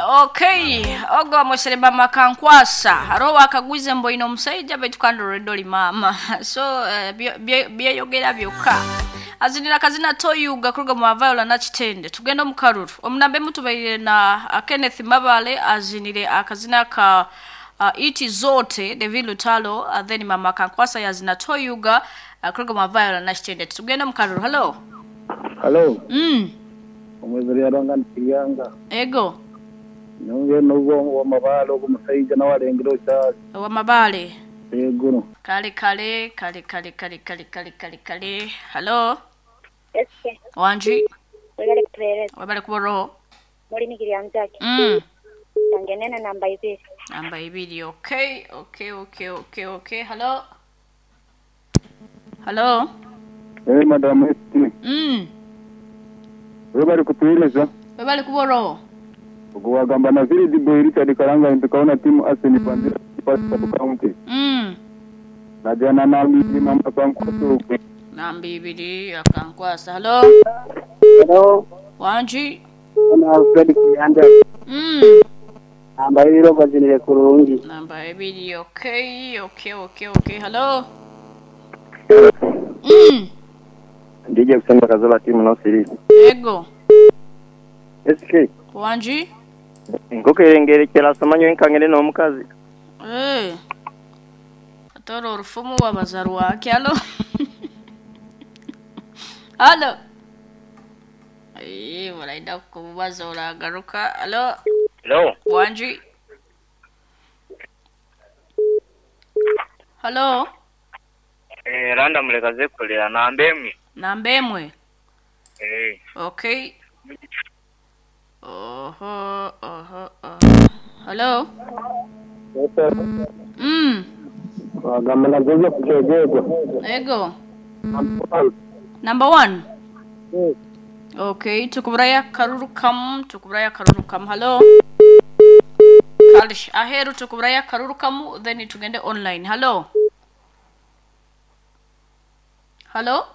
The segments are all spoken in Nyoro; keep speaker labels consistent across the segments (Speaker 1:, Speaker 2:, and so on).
Speaker 1: Okay, ogwo mwesere mama Kankwasa hariho wakagwize mboine omushaija baitu kandi already oli maama. So byeyogera byokka. Azinira kazina Toyuga kuruga mu Viola Nakitende. Tugenda omu karuru omunambe mutubaire na Kenneth Mabale azinire akazina ka Iti Zote David Lutalo, then mama Kankwasa yazina Toyuga kuruga mu Viola Nakitende. Tugenda omu karuru. Hello.
Speaker 2: Halo. Omwezi lyaranga ntiryanga.
Speaker 1: Ego.
Speaker 2: Nonge nubwo wa mabale ogu musaija nawe alengera okyali.
Speaker 1: Wa mabale.
Speaker 2: Ego.
Speaker 1: Kale kale kale kale kale kale kale kale kale. Hello.
Speaker 3: Eske.
Speaker 1: Wanji.
Speaker 3: Webale kutuhereza.
Speaker 1: Webale kuboroho.
Speaker 3: Muri nigiryanzake. Ngenena namba ibiri.
Speaker 1: Namba ibiri. Okay, okay, okay, okay, okay. Hello. Hello.
Speaker 2: Eh, madam Esti. Webale kutuhereza.
Speaker 1: Webale kuboroho.
Speaker 2: Ogwagamba na Village Boy Richard Karanga ntukaona timu Arsenal Bandira Pastor County. Najana na mimi mama Kankwasa.
Speaker 1: Namba ibiri akankwasa. Hello.
Speaker 4: Hello.
Speaker 1: Wanji.
Speaker 4: Ana Alfred Kiyanda. Namba ibiri obazinire kurungi.
Speaker 1: Namba ibiri. Okay, okay, okay, okay. Hello.
Speaker 5: Ndije kusema kazola timu no series.
Speaker 1: Ego.
Speaker 5: SK.
Speaker 1: Wanji.
Speaker 5: Nkoko erengerekera samanyo enkangene n'omukazi.
Speaker 1: Eh. Atoro orufumu wabazaru wake. Hello. Hello. Eh, walaida kubaza uragaruka. Hello.
Speaker 6: Hello.
Speaker 1: Wanji. Hello.
Speaker 6: Eh, randa mulekaze kulira namba emwe.
Speaker 1: Namba emwe.
Speaker 6: Eh.
Speaker 1: Okay. Oho, oho, oho. Hello.
Speaker 4: Wagamba na Joseph Kyegegwa.
Speaker 1: Ego. Number 1. Okay, tukuburaya karuru kam, tukuburaya karuru kam. Hello. Kalish aheru tukuburaya karuru kamu, then tugende online. Hello. Hello.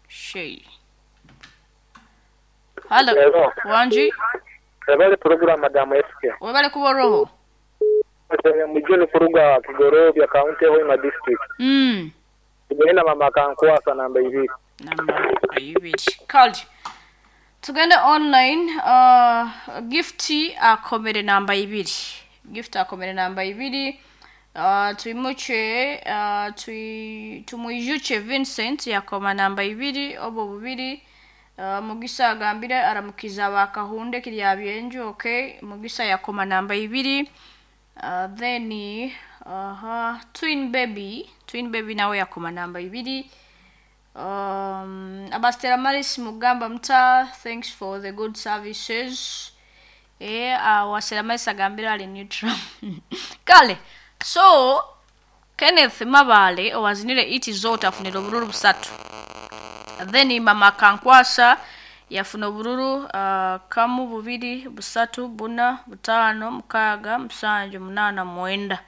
Speaker 1: Shay. Hello.
Speaker 7: Hello.
Speaker 1: Wanji.
Speaker 7: Webale program madam SK.
Speaker 1: Webale kuboroho.
Speaker 7: Mujeni kuruga Kigorobya County Hoima District. Tugende mama Kankwasa namba ibiri.
Speaker 1: Namba ibiri. Kali. Tugende online. Gifti akomere namba ibiri. Gift akomere namba ibiri. Tuimuche tumuijuche Vincent yakoma namba ibiri obo bubiri. Mugisa agambire aramukiza bakahunde kirya byenju. Okay, Mugisa yakoma namba ibiri. Then Twin Baby nawe yakoma namba ibiri. Abastera Maris Mugamba Mta, thanks for the good services. Wasera Maris agambire ali neutral. Kale, so Kenneth Mabale owazinire Iti Zote afunira obururu busatu. Then mama Kankwasa yafuna obururu kamu bubiri busatu buna butano mukaga musanju munana mwenda.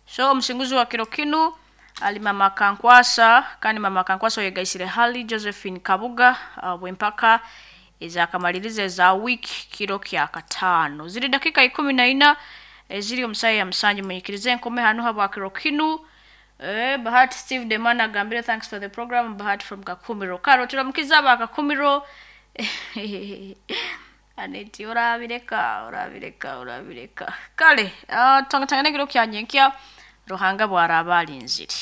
Speaker 1: So omusinguzi wa kiro kinu ali mama Kankwasa, kandi mama Kankwasa yegaisire hali Josephine Kabuga bwempaka ezakamaliriza eza week kiro kya katano. Ziri dakika 14 eziri omusaya ya musanju. Munyikirize enkome hano habwa kiro kinu. Bahati Steve Demana agambire thanks for the program. Bahati from Kakumiro. Karo turamukiza aba Kakumiro. Aneti orabireka orabireka orabireka. Kale, tanga tanga kiro kya nyenkya Ruhanga bwaraba alinziri.